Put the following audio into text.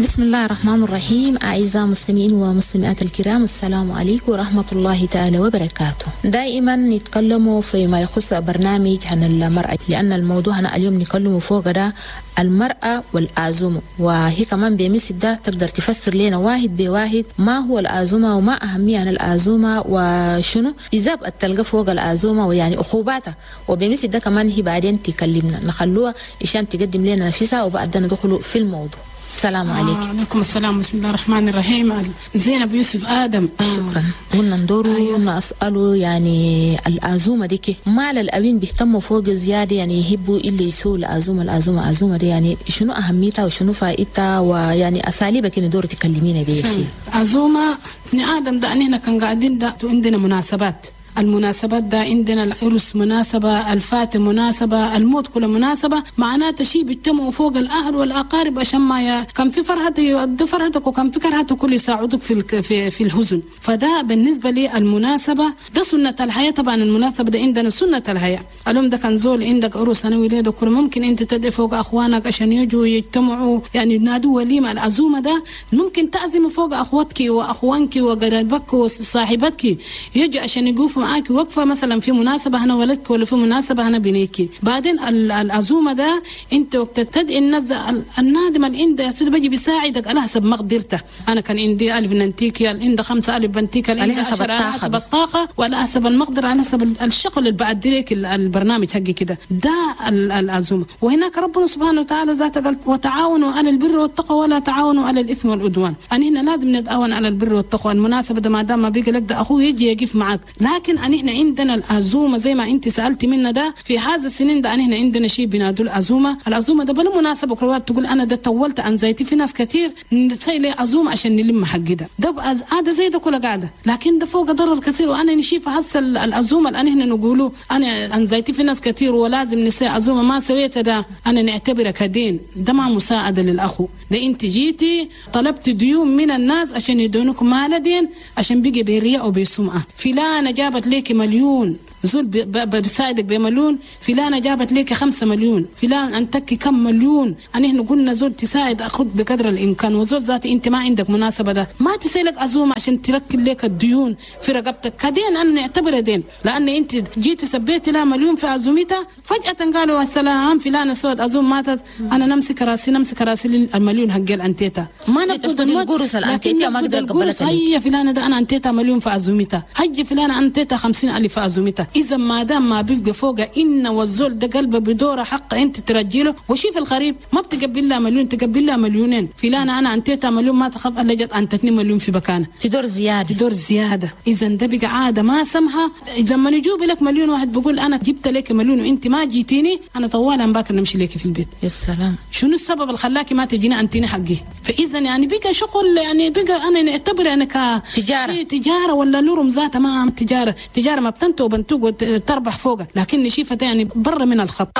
بسم الله الرحمن الرحيم. أعزائي المستمعين ومستمعات الكرام، السلام عليكم ورحمة الله تعالى وبركاته. دائما نتكلم فيما يخص برنامج عن المرأة، لأن الموضوع أنا اليوم نتكلم فوق ده المرأة والعزومة، وهي كمان بمثل ده تقدر تفسر لنا واحد بواحد ما هو العزومة وما أهمية عن العزومة وشنو إذا تلقى فوق العزومة ويعني عقوباتها، وبمثل ده كمان هي بعدين تكلمنا نخلوها عشان تقدم لنا نفسها وبعدين ندخل في الموضوع. السلام عليكم. عليكم السلام. بسم الله الرحمن الرحيم. زينب يوسف آدم. شكرا. قلنا ندورو. أيوة. نسأله يعني العزومة دي ما الأبين بيهتموا فوق زيادة، يعني يحبوا اللي يسووا العزومة العزومة العزومة دي، يعني شنو أهميتها وشنو فائدتها ويعني أساليبك ندور تكلمينا بيها شيء. عزومة ابن آدم ده أننا كان قاعدين ده عندنا مناسبات، المناسبات ده عندنا العرس مناسبة، الفاتح مناسبة، الموت كله مناسبة، معناته شيء بيجتمعوا فوق الأهل والأقارب عشان ما كان في فرحة يؤدوا فرحتك وكان في كرهتك كل يساعدوك في الحزن. فده بالنسبة لي المناسبة ده سنة الحياة. طبعا المناسبة ده عندنا سنة الحياة. اليوم ده كان زول عندك عرس أنا ولادك كل ممكن أنت تدعي فوق أخوانك عشان يجوا يجتمعوا، يعني ينادوا وليمة. العزومة ده ممكن تعزم فوق أخواتك وأخوانك وقرايبك وصاحبتك يجوا عشان يقوفوا معاك وقفة مثلا في مناسبة هنا ولدك ولا في مناسبة هنا بنيكي. بعدين العزومة ده انت وقت تدعي الناس النادم اللي عنده بيجي بيساعدك على حسب مقدرته. انا كان عندي 1000 ننتيكي، عندي 5000 بنتيكي، على حسب الطاقة وعلى حسب المقدرة، على حسب الشغل اللي بعدي لك البرنامج حقي كده. ده العزومة. وهناك ربنا سبحانه وتعالى ذاته قال وتعاونوا على البر والتقوى ولا تعاونوا على الاثم والعدوان. انا هنا لازم نتعاون على البر والتقوى. المناسبة ده ما دام ما بيجي لك ده اخوه يجي يقف معك. لكن أن إحنا عندنا العزومة زي ما أنت سألتي منا ده في هذا السنين ده أن إحنا عندنا شيء بنادوا العزومة. العزومة ده بلا مناسبة كروات تقول أنا ده طولت عن زيتي. في ناس كتير نتسيل عزومة عشان نلم حق ده ده عادة زي ده كله قاعدة، لكن ده فوق ضرر كثير. وأنا نشيف هسه العزومة الآن إحنا نقوله أنا عن زيتي في ناس كتير ولازم نسي عزومة ما سويت ده أنا نعتبره كدين. ده ما مساعدة للأخو. ده أنت جيتي طلبت ديون من الناس عشان يدونك مال دين عشان بيجي برياء وبسمعة. فلانة جابت ليك مليون زول بيساعدك بمليون، فلانة جابت ليك 5 مليون، فلان أنتك كم مليون. أنا إحنا قلنا زول تساعد أخذ بقدر الإمكان، وزول ذاتي أنت ما عندك مناسبة ده ما تسيلك عزومة عشان تركل لك الديون في رقبتك كدين. أنا نعتبره دين، لأن أنت جيت سبيت لها مليون في عزومتها فجأة قالوا السلام فلانة سوت عزوم ماتت، أنا نمسك راسي نمسك راسي المليون حق أنتيتها ما نفقد القرص الأنتيتها ما أقدر قبلتها. هي فلانة ده أنا أنتيتها مليون في عزومتها، حج فلانة أنتيتها 50,000 في عزومتها. إذا ما دام ما بيبقى فوق إن والزول ده قلبه بدوره حق أنت ترجيله. وشيف الغريب ما بتقبل لها مليون، تقبل لها مليونين. فلانة أنا أنتيتها مليون ما تخاف إلا جت أنتتني مليون في مكانه تدور زيادة تدور زيادة. إذا ده بقى عادة ما سمها. لما نجوب لك مليون واحد بقول أنا جبت لك مليون وأنت ما جيتيني، أنا طوالا باكر نمشي لك في البيت. يا سلام، شنو السبب اللي خلاكي ما تجيني أنتيني حقي؟ فإذا يعني بقى شغل، يعني بقى أنا نعتبر أنا كتجارة تجارة ولا لورم ذاتها ما تجارة. تجارة ما بتنتو وبنتوق وتربح فوقك، لكن نشيفة يعني برا من الخط.